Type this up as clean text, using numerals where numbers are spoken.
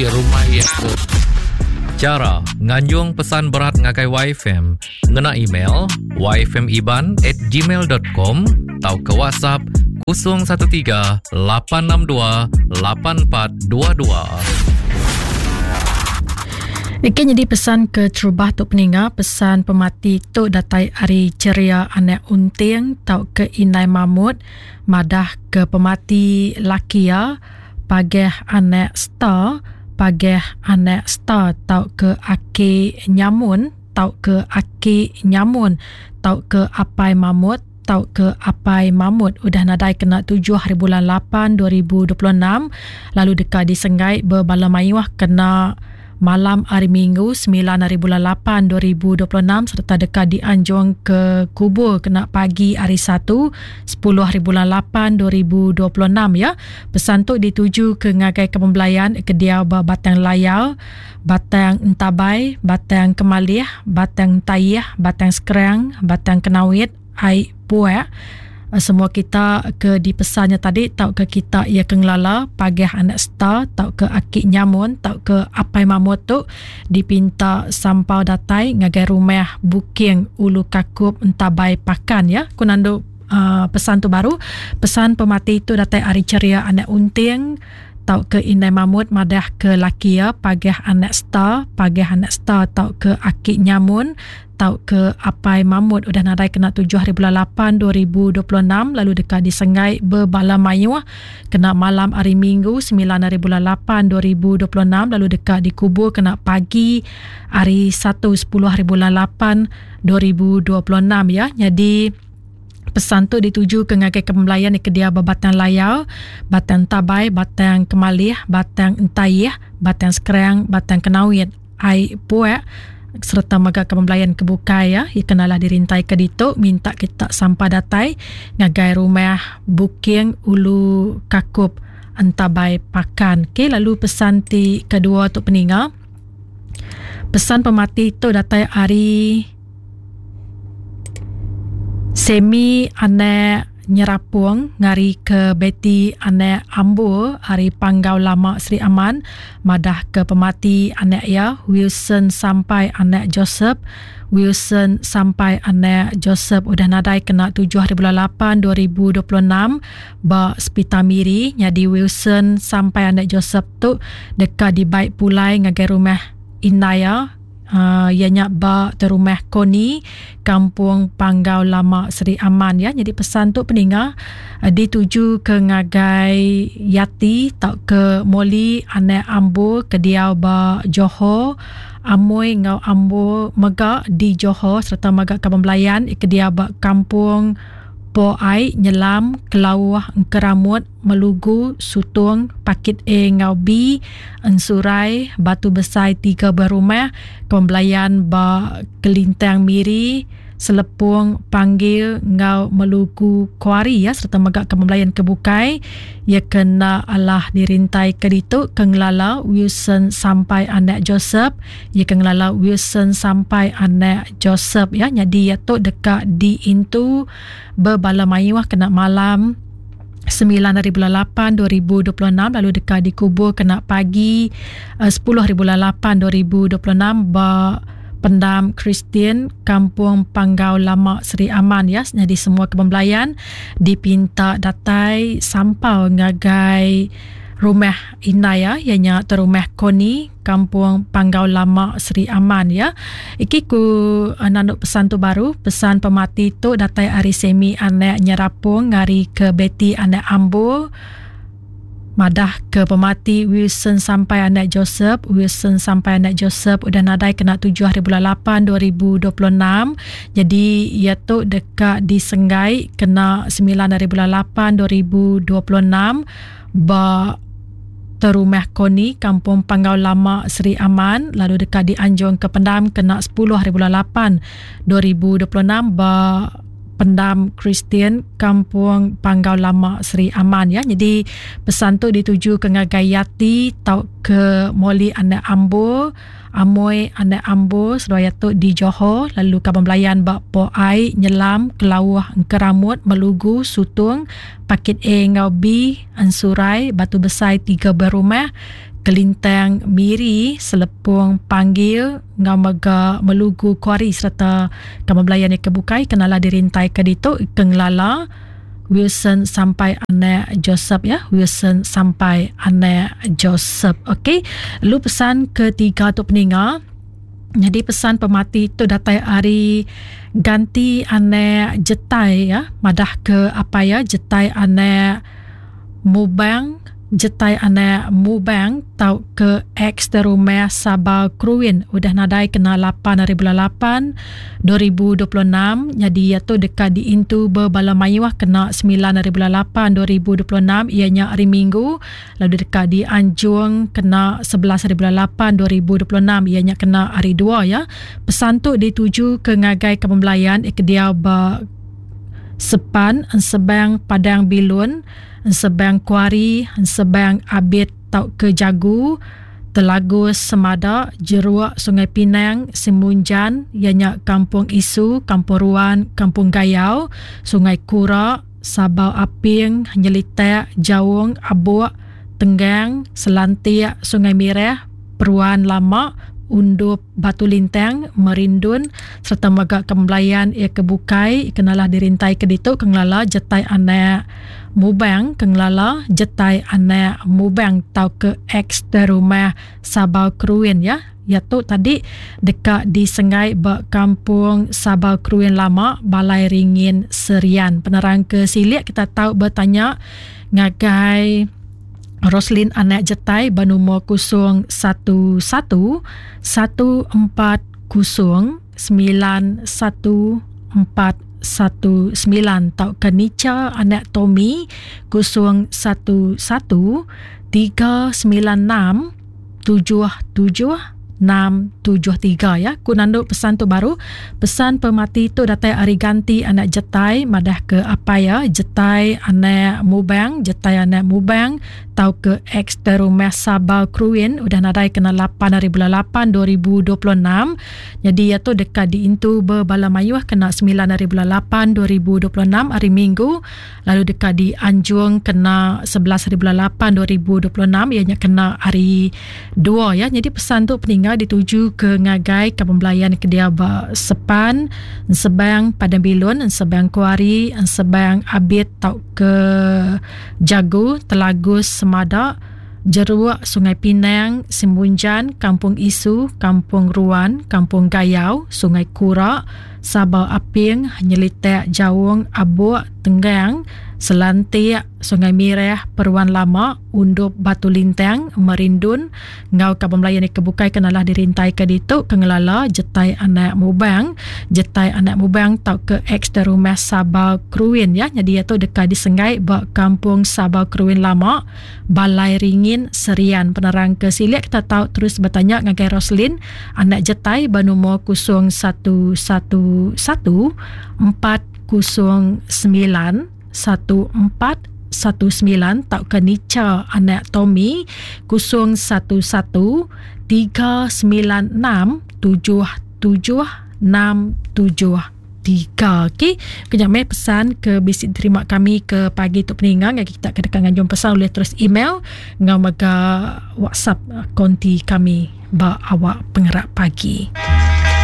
Enggi rumah iya tu. Chara nganjung pesan berat ngagai YFM ngena email yfmiban at gmail dot com tauka WhatsApp 013 862 8422. Ike nyadi pesan ke terubah tu peninga pesan pemati tu datai ari Cheria Anak Unting tauka Indai Mamut madah ke pemati laki iya Pageh Anak Star Pageh Anak Star tauka Aki Nyamun tauka Aki Nyamun tauka Apai Mamut tauka Apai Mamut udah nadai kena tujuh haribulan lapan 2026 lalu deka disenggai bebala mayuh kena malam hari Minggu semilan haribulan lapan 2026 sereta deka dianjung ke kubur kena pagi hari Satu sepuluh haribulan lapan 2026 ya. Pesan tu dituju ke ngagai Kepembelayan ke diau ba Batang Layar, Batang Entabai, Batang Kemalih, Batang Entaih, Batang Skrang, Batang Kenawit, Ai Puak. Semua kita ke dipesan nya tadi tauka kita iya ke ngelala pagah anak star tauka aki nyamun tauka apai mamut tu dipinta sampau datai ngagai rumah Buking Ulu Kakup Entabai Pakan ya. Ku nandu uh, pesan tu baru. Pesan pemati tu datai ari ceria anak unting tauka indai mamut madah ke laki iya pagah anak star, pagah anak star tauka aki nyamun tauka apai mamut udah nadai kena tujuh hari bulan lapan 2026 lalu deka disenggai bebala mayuh kena malam hari Minggu semilan hari bulan lapan 2026 lalu deka dikubur kena pagi hari Satu sepuluh hari bulan lapan 2026 ya. Nyadi Pesan tu dituju ke ngagai kepembelayan ke diau ba Batang Layar, Batang Tabai, Batang Kemalih, Batang Entaih, Batang Skrang, Batang Kenawit, Ai Puak sereta mega kepembelayan ke bukai ya. Iya kenalah dirintai ke ditu minta kita sampa datai ngagai rumah Buking Ulu Kakup Entabai Pakan. Okey lalu pesan ti kedua tu peninga. Pesan pemati tu datai ari Semi anak Nyerapong ngari ke Betty anak Ambur ari Panggau Lama Sri Aman madah ke pemati anak iya Wilson Sampai anak Joseph Wilson Sampai anak Joseph udah nadai kena tujuh hari bulan lapan 2026 ba Sepital Miri nyadi Wilson Sampai anak Joseph tu deka dibai pulai ngagai rumah indai iya iya nya ba terumah Koni, Kampung Panggau Lama Sri Aman ya. Nyadi pesan tu peninga dituju ke ngagai Yati tauka Moli anak Ambur ke diau ba Johor, Amoi enggau Ambur mega di Johor sereta mega kaban belayan ke diau ba Kampung Po Ai, Nyelam, Kelauh, Engkeramut, Melugu, Sutong, Pakit A enggau B, Ensurai, Batu Besai tiga buah rumah, Pembelayan ba Kelintang Miri, Selepong, Panggil enggau Melugu Kuari ya sereta mega ke pembelayan ke bukai iya ke enda alah dirintai ke ditu ke ngelala Wilson Sampai anak Joseph iya ke ngelala Wilson Sampai anak Joseph ya nyadi iya tu deka diintu bebala mayuh kena malam semilan hari bulan lapan 2026 lalu deka dikubur kena pagi sepuluh hari bulan lapan 2026 ba Pendam Kristian Kampung Panggau Lama Sri Aman ya. Nyadi semua kebun belayan dipinta datai sampau ngagai rumah indai ya, iya nya terumah Koni Kampung Panggau Lama Sri Aman ya. Iki ku nandu pesan tu baru, pesan pemati tu datai ari Semi anak Nyerapong ngari ke Betty anak Ambur madah ke pemati Wilson Sampai anak Joseph. Wilson Sampai anak Joseph udah nadai kena tujuh hari bulan lapan 2026. Jadi iya tu deka disenggai kena semilan hari bulan lapan 2026 ba Terumah Koni, Kampung Panggau Lama, Sri Aman lalu deka dianjung ke pendam kena sepuluh hari bulan lapan 2026 ba Pendam Kristian Kampung Panggau Lama Sri Aman ya. Jadi pesan tu dituju ke ngagai Yati tauka Molly anak Ambur, Amoi anak Ambur seduai tu di Johor lalu kaban belayan ba Po Ai, Nyelam, Kelauh, Engkeramut, Melugu, Sutung, Pakit A enggau B, Ensurai, Batu Besai tiga buah rumah. Kelintang Miri, Selepong Panggil enggau mega Melugu Kuari sereta kaban belayan iya ke bukai ke nala dirintaika ditu ke ngelala Wilson Sampai anak Joseph ya, Wilson Sampai anak Joseph. Okey, lalu pesan ketiga tu peninga Nyadi pesan pemati tu datai ari ganti anak Jetai ya, madah ke apai iya Jetai anak Mubang, Jetai anak Mubang tauka ex Rumah Sabal Kruin udah nadai kena lapan ari bulan lapan 2026 nyadi iya tu deka diintu bebala mayuh kena semilan ari bulan lapan 2026 iya nya hari Minggu. Lalu deka dianjung kena 11 hari bulan 8 2026 iya nya kena hari dua ya. Pesan tu dituju ke ngagai kaban belayan ke diau ba Sepan, Ensebang Padang Bilun, Ensebang Kuari, Ensebang Abit tauka Jagu, Telagus Semada, Jeruk Sungai Pinang, Simunjan iya nya Kampung Isu, Kampung Ruan, Kampung Gayau, Sungai Kura, Sabau Aping, Nyelitak, Jaung, Abuk, Tenggang, Selantik, Sungai Mirah, Peruan Lama, Undup, Batu Lintang, Merindun sereta mega ke belayan iya ke bukai ke nalah dirintai ke ditu ke ngelala Jetai Anak Mubang ke ngelala Jetai Anak Mubang tauka ex Rumah Sabau Keruin ya. Iya tu tadi deka disenggai ba Kampung Sabau Keruing Lama, Balai Ringin, Serian. Penerang ke silik kita tau betanya ngagai Roslin Anak Jetai ba numur 011 140 9149 tauka Nicha Anak Tommy 011 396 77673 ya. Ku nandu pesan tu baru. Pesan pemati tu datai ari ganti anak Jetai madah ke apai ya Jetai anak Mubang, Jetai anak Mubang tau ke ex Terumah Sabal Kruin udah nadai kena 8 hari bulan 8 2026. Nyadi iya tu deka diintu bebala mayuh kena 9 hari bulan 8 2026 hari Minggu. lalu deka dianjung kena 11 hari bulan 8 2026 iya nya kena hari dua ya. Nyadi pesan tu peninggal dituju ke ngagai kaban belayan ke dia ba Sepan, Ensebang Padang Bilun, Ensebang Kuari, Ensebang Abit tauka Jagu, Telagus Semada, Jeruk, Sungai Pinang, Simunjan, Kampung Isu, Kampung Ruan, Kampung Gayau, Sungai Kura, Sabau Aping, Nyelitek, Jaung, Abuk, Tenggang, Selantik, Sungai Mireh, Peruan Lama, Undup Batu Lintang, Merindun enggau kaban belayan ke bukai ke nalah dirintaika ditu ke ngelala Jetai Anak Mubang, Jetai Anak Mubang tauka ex Rumah Sabau Keruin ya. Nyadi iya tu deka disenggai ba Kampung Sabau Keruin Lama, Balai Ringin, Serian. Penerang ke silik kita tau terus betanya ngagai Roslin, anak Jetai ba numur 0111 409 1419 tauka Nicha anak Tommy 011 396 7767. Tiga okey. Kejap meh pesan ke bisi diterima kami ke pagi tu peninga ngagai kita ke deka nganjung pesan ulih terus email enggau mega WhatsApp konti kami ba awak pengerak pagi.